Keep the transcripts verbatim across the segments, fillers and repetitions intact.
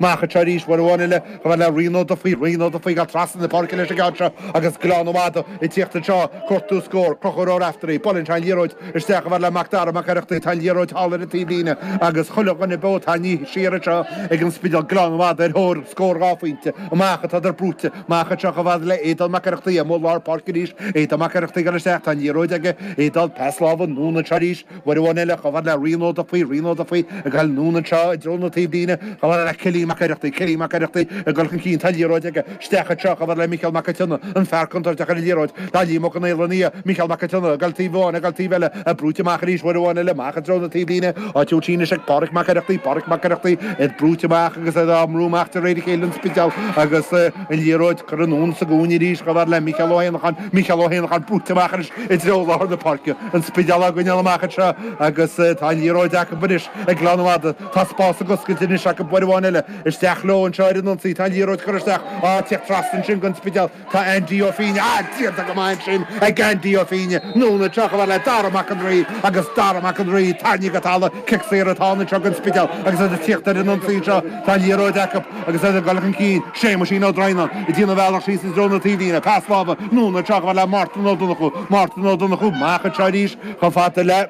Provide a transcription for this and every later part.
Amach anseo arís uair amháin eile chomh fada le Rian Ó Dufaigh, Rian Ó Dufaigh ag dul trasna na páirce leis an gceann seo agus Gleann Fhada ag tíocht anseo cuartú scór, Conchúr Ó Raftery, buaileann sé an liathróid isteach chomh fada le Mac Dara Mac Oireachtaigh, tá an liathróid thall ar an taobhlíne agus chuile dhuine beo tarraingthe siar anseo ag an Spidéal, Gleann Fhada ar thóir scór dhá phointe, amach atádar brúite, amach anseo chomh fada le Aodán Mac Oireachtaigh amuigh lár páirce arís, Aodán Mac Oireachtaigh ag dul isteach, tá an liathróid aige, Aodán, pas láimhe anonn anseo arís, uair amháin eile chomh fada le Rian Ó Dufaigh, Rian Ó Dufaigh ag dul anonn anseo i dtreo na taobhlíne, chomh fada le Cillian Mac Oireachtaigh, Cillian Mac Oireachtaigh ag dul chun cinn, tá an liathróid aige, isteach anseo chomh fada le Micheál Mac an tSionna, an fear contúirteach ar an liathróid, tá Liam Ó Conaola ina dhiaidh, Micheál Mac an tSionna ag dul taobh amháin, ag dul taobh eile, é brúite amach arís uair amháin eile, amach i dtreo na taobhlíne, á tabhairt anois ag Páraic Mac Oireachtaigh, Páraic Mac Oireachtaigh, iad brúite amach agus iad á mbrú amach de réir a chéile an Spidéal agus an liathróid curtha anonn sa gcúinne arís chomh fada le Micheál Ó hÉanacháin, Micheál Ó hÉanacháin brúite amach anois i dtreo lár na páirce, an Spidéal á gcoinneáil amach anseo agus tá an liathróid acu anois ag Gleann Fhada. Tá spás ag oscailt anois acu uair amháin eile. Isteach leo anseo ar an ionsaí. Tá an liathróid curtha isteach. Á, tíocht trasna ansin don Spidéal. Tá Andy Ó Fínne. Á, déanta go maith ansin ag Andy Ó Fínne. Anonn anseo chomh fada le Dara Mac an Rí agus Dara Mac an Rí tarraingthe go talamh. Cic saor atá ann anseo don Spidéal agus iad ag tíocht ar an ionsaí anseo. Tá an liathróid acu agus iad ag dul chun cinn. Séamuisín Ó Droighneáin ag déanamh a bhealach síos i dtreo na taobhlíne. Pas láimhe anonn anseo chomh fada le Mártan Ó Donnchú. Mártan Ó Donnchú amach anseo arís chomh fada le.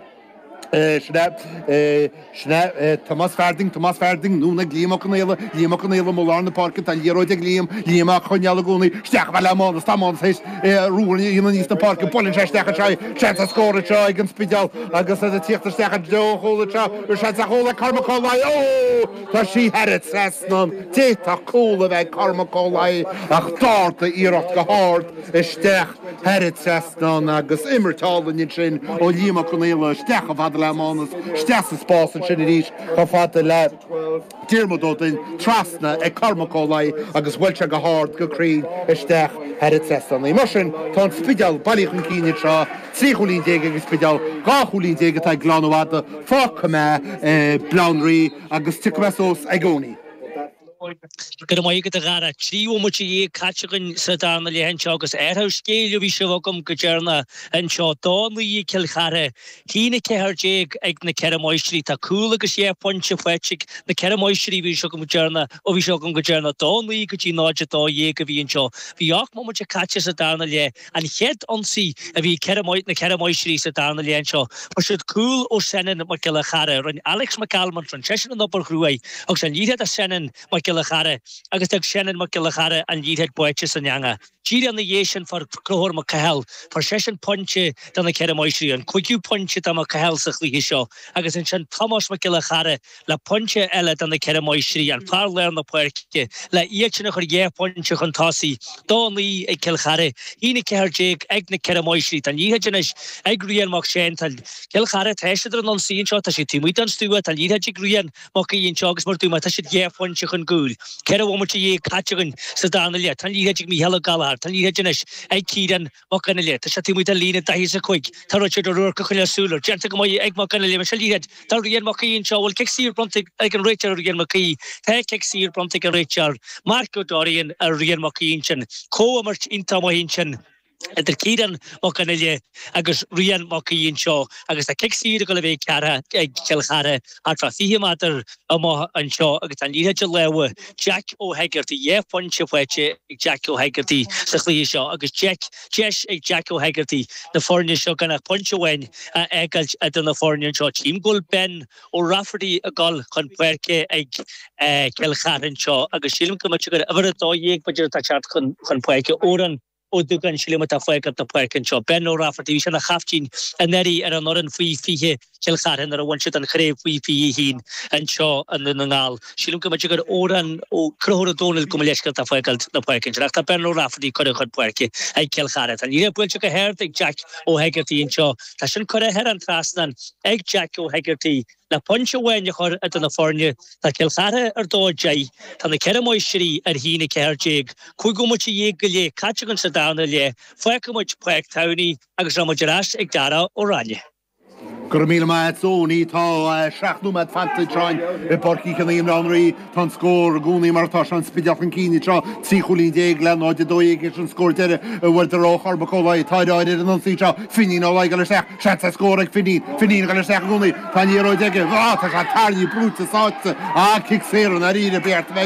Sin é, sin é Tomás Farthing, Tomás Farthing, anonn ag Liam Ó Conaola, Liam Ó Conaola amuigh lár na páirce, tá an liathróid ag Liam, Liam á choinneáil i gcónaí, isteach chomh fada le Mánas, tá Mánas théis ruathar a dhéanamh aníos na páirce, buaileann sé isteach anseo é, seans ar scór anseo ag an Spidéal agus iad ag tíocht isteach i dtreo an chúil anseo, seans ar chúl ag Cormac Ó Laoi, ó! Tá sí thar an trasnán, d'fhéadfadh cúl a bheith ag Cormac Ó Laoi ach d'ardaigh iarracht go hard isteach thar an trasnán agus imirt álainn ansin ó Liam Ó Conaola isteach chomh fada le Mánas, isteach sa spás ansin arís chomh fada le Diarmuid Ó Duinn, trasna ag Cormac Ó Laoi agus bhuail sé go hard go cruinn isteach thar an trasnán. Mar sin, tá an Spidéal bailithe chun cinn anseo, trí chúilín déag ag an Spidéal, dhá chúilín déag atá ag Gleann Fhada, fágfaidh mé Baile Átha an Rí agus tiocfaidh mé suas ag Owenie. Go raibh maith agat a Dhara. Trí bhomaite dhéag caite againn sa darna leath anseo agus athrú scéil a bhí sibh agam go deireanach anseo. Dó naoi ag Cill Chartha, haon a ceathair déag ag na Ceithre Máistrí. Tá cúl agus dhá phointe faighte ag na Ceithre Máistrí a bhí seo agam go deireanach, ó bhí seo agam go deireanach. Dó naoi go dtí náid a dó dhéag a bhí anseo. Bhí ocht mbomaite caite sa darna leath. An chéad ionsaí a bhí ag na Ceithre Máistrí sa darna leath anseo, fuair siad cúl ó Senan Mac Giolla Chara. Rinne Alex McAlmont, rinne seisean an obair chruaidh agus an liathróid do Senan Mac Giolla Chara agus d'fhág Senan Mac Giolla Chara an liathróid báite san eangach. Díreach ina dhiaidh sin fuair Conchúr Mac Cathal, fuair seisean pointe do na Ceithre Máistrí, an cúigiú pointe do Mac Cathal sa chluiche seo agus ansin Tomás Mac Giolla Chara le pointe eile do na Ceithre Máistrí, an fear lár na páirce, le iad sin a chur dhá phointe chun tosaigh. Dó naoi ag Cill Chartha, haon a ceathair déag ag na Ceithre Máistrí. Tá an liathróid anois ag Rian Mac Séan. Tá Cill Chartha, tá siad ar an ionsaí anseo, tá siad taobh amuigh den stua, tá an liathróid ag Rian Mac Aoidh anseo agus mar a dúirt mé, tá siad dhá phointe chun cúil. Ceithre bhomaite dhéag caite againn sa darna leath. Tá an liathróid ag Mícheál Ó Gallchóir. Tá an liathróid anois ag Ciarán Mac Fhionnghaile. Tá sé taobh amuigh den líne daichead is a cúig. Tá Richard O'Rourke ag coinneáil súil air. Déanta go maith ag Mac Fhionnghaile. Seo liathróid do Rian Mac Aoidh anseo. Bhfuil cic saor bronnta ag an réiteoir ar Rian Mac Aoidh? Tá cic saor bronnta ag an réiteoir Mark Ó Dorrian ar Rian Mac Aoidh ansin. Comhimirt iontach maith ansin idir Ciarán Mac Fhionnghaile agus Rian Mac Aoidh anseo agus tá cic saor ag dul a bheith ag Cill Chartha thart fá fiche méadar amach anseo agus tá an liathróid i lámha Jack Ó hEigeartaigh, dhá phointe faighte ag Jack Ó hEigeartaigh sa chluiche seo agus Jack, deis ag Jack Ó hEigeartaigh na foirne seo gan ach pointe amháin a fhágáilt idir na foirne anseo. Tchím go bhfuil Ben Ó Rafferty ag dul chun páirce ag Cill Chartha anseo agus sílim go mb'fhéidir gur uimhir a dó dhéag b'fhéidir atá ag teacht chun páirce. Odhrán Ó Dúgáin, sílim, atá ag fágáilt na páirce anseo. Ben O'Rafferty, bhí sé ina chaiftín anuraidh ar an fhoireann faoi fiche Chill Chartha nuair a bhain siad an chraobh faoi fiche a haon anseo i nDún na nGall. Sílim go mb'fhéidir gur Odhrán Ó Conchúr Ó Dónaill gabh mo leithscéal atá ag fágáilt na páirce ansin. Ach tá Ben O'Rafferty curtha chun páirce ag Cill Chartha. Tá an liathróid buailte go hard ag Jack Ó hEigeartaigh anseo. Tá sin curtha thar an trasnán ag Jack Ó hEigeartaigh. Le pointe amháin a chur idir na foirne, tá Cill Chartha ar dó deich, tá na Ceithre Máistrí ar haon a ceathair déag. Cúig bhomaite dhéag go leith caite againn sa darna leath. Fágfaidh muid Páirc Towney agus rachaidh muid ar ais ag Dara Ó Ráinne. Go raibh míle maith agat Owenie. Tá seacht nóiméad fanta anseo i bPáirc Uí Chionnaith i mBaile Átha an Rí. Tá an scór i gcónaí mar atá sé, an Spidéal chun cinn anseo, trí chúilín déag le náid a dó dhéag is an scór deiridh a bhfuaireadar ó Chormac Ó Laoi. Tá ar ar an ionsaí anseo, Finín Ó Laoi ag dul isteach. Seans ar scór ag Finín. Finín ag dul isteach i gcónaí. Tá an liathróid aige. Á, tá sé tarraingthe, brúite, sáite. Á, cic saor i ndáiríre, ba cheart a bheith.